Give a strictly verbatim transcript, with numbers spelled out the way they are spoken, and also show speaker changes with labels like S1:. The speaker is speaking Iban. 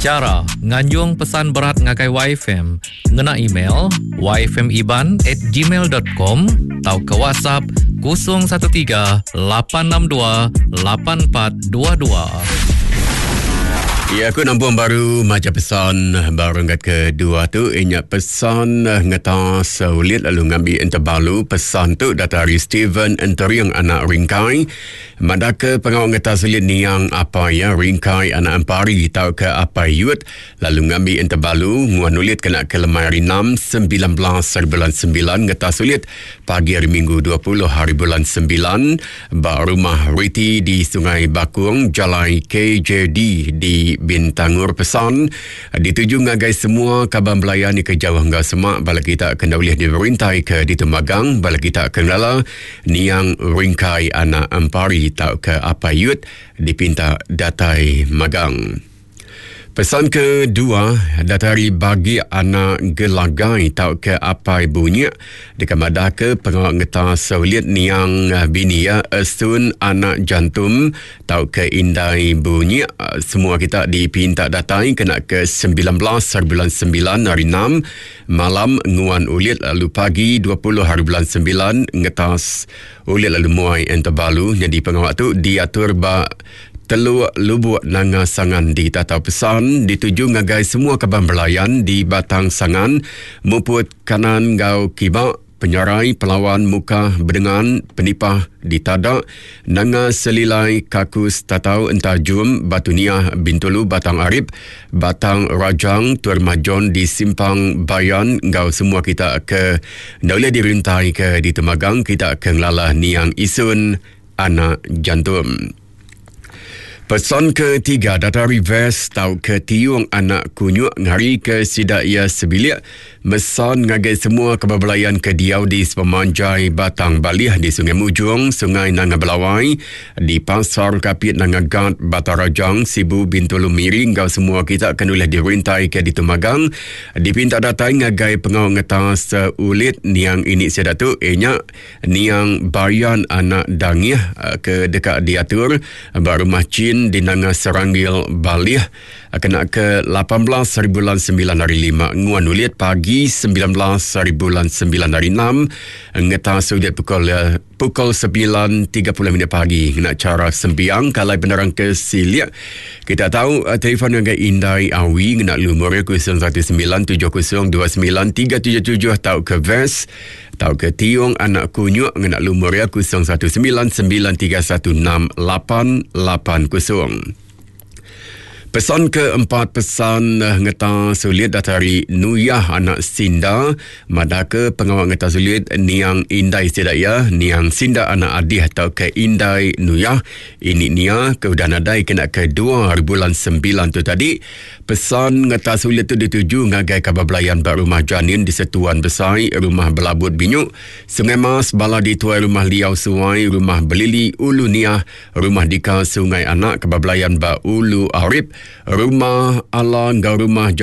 S1: Chara nganjung pesan berat ngagai Y F M ngena email y f m iban at gmail dot com atau ke WhatsApp kosong satu tiga lapan enam dua lapan empat dua dua.
S2: Ya, aku nampung baru maca pesan baru renggat kedua tu. Inya pesan ngetas ulit lalu ngambil enterbalu. Pesan tu datang dari Steven Enteriang anak Ringkai. Madaka pengawal ngetas ulit niang apa ya Ringkai anak Empari tau ke apa yut lalu ngambil enterbalu nguan ulit kena ke lemai hari enam sembilan belas hari bulan sembilan ngetas ulit pagi hari Minggu dua puluh hari bulan sembilan ba rumah Riti di Sungai Bakung Jalai K J D di Bintangur. Pesan dituju ngagai semua kaban belayan ni ke jauh enggau semak bala kita kena boleh diberintai ke ditemagang bala kita ke ngelala niang Ringkai anak Empari tau ke apa yut dipinta datai magang. Pesan kedua datari bagi anak gelagai tau ke apai bunyi dekat madah ke pengawal ngetas ulit niang bini ya Esun anak jantum tau ke indai bunyi. Semua kita dipinta datai kena ke sembilan belas hari bulan sembilan hari enam malam nguan ulit lalu pagi dua puluh hari bulan sembilan ngetas ulit lalu muai enterbalu. Jadi pengawal tu diatur ba Teluk Lubuk Nanga Sangan di Tatau. Pesan dituju ngagai semua kaban belayan di Batang Sangan, Muput Kanan Gau Kibak, Penyarai, Pelawan, Muka, Bedengan, Penipah, Ditadak, Nanga Selilai, Kakus, Tatau, Entajum, Batu Niah, Bintulu, Batang Arip, Batang Rajang, Tuan Majon di Simpang Bayan, gau semua kita ke Daulah dirintai ke di Temagang, kita ke Ngelalah Niang Isun, Anak Jantum. Pesan ketiga data reverse tau ke tiung anak kunyuk ngari ke sidak ia sebilik mesan ngagai semua kebabalayan ke diau di sepemanjai Batang Balih di Sungai Mujung, Sungai Nanga Belawai, di Pasar Kapit Nanga Gat, Batang Rajang, Sibu Bintulu Miri ngau semua kita kena oleh dirintai ke di Temagang dipinta datai ngagai pengawal ngetas ulit niang ini sidak tu enya niang Bayan anak Dangih ke dekat diatur ba rumah Cin di Nanga Seranggil Balih kena ke lapan belas hari bulan sembilan hari lima nguan ulit pagi sembilan belas hari bulan sembilan hari enam ngetas ulit pukul pukul sembilan tiga puluh minit pagi kena cara sembiang kalai penerang ke siliak kita tahu telefon dengan Indai Awi kena lumur kosong satu sembilan tujuh kosong dua sembilan tiga tujuh tujuh tau ke Ves tau ke Tiung anak kunyuk kena lumur ya kosong satu sembilan sembilan tiga satu enam lapan lapan kosong. Pesan keempat pesan ngeta sulit datari Nuyah anak Sinda madaka pengawal ngeta sulit niang Indai Sidaya niang Sinda anak Adih atau ke Indai Nuyah ini nia ke udah nadai kena ke dua hari bulan sembilan tu tadi. Pesan ngeta sulit tu dituju ngagai kabar belayan bak rumah Janin di Setuan Besai, rumah Belabut Binyuk, Sungai Mas, Bala di Tuai Rumah Liau Suai, Rumah Belili Ulu Niah, Rumah Dika Sungai Anak, kabar belayan bak Ulu Arip, Rumah Ala ngau Rumah